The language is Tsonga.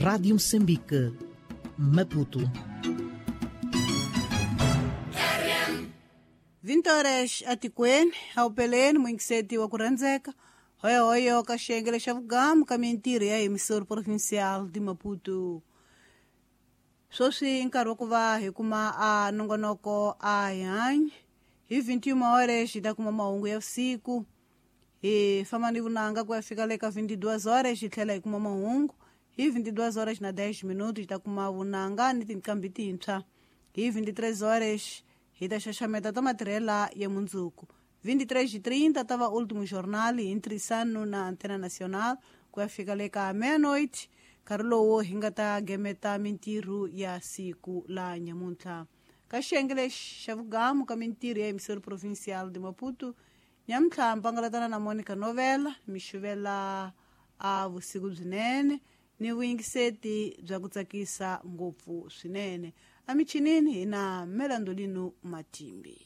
Rádio Moçambique, Maputo. 20 horas atikweni awupeleni muingiseti wa ku rhandzeka hoyohoyo ka xiyengele xa vugamu ka mintirho ya emissor provincial de Maputo. Sweswi i nkarhi wa ku va hi kuma a nongonoko a hi hanyi hi 21 horas hi ta kuma mahungu ya vusiku, hi famba ni vunanga ku ya fika le ka 22 horas hi tlhela hi kuma mahungu hi 22 horas na 10 minuto hi ta kuma vunanga ni tinqambi tintshwa hi 23 horas hi ta xaxameta ta matirhela ya mundzuku. 23:30 ta va Último Jornal hi ntirhisano na Antena Nacional ku ya fika le ka meia-noite, nkarhi lowu hi nga ta gemeta mintirho ya siku la nyamuntlha. Ka xiyenge lexi xa vugamu ka mintirho ya emissor provincial de Maputo nyamuntlha mpangalatana na Monica Novela mi xuvela a vusiku byinene ni vuyingiseti bya ku tsakisa ngopfu swinene. Emichinini hi na Melandolino Matimbi.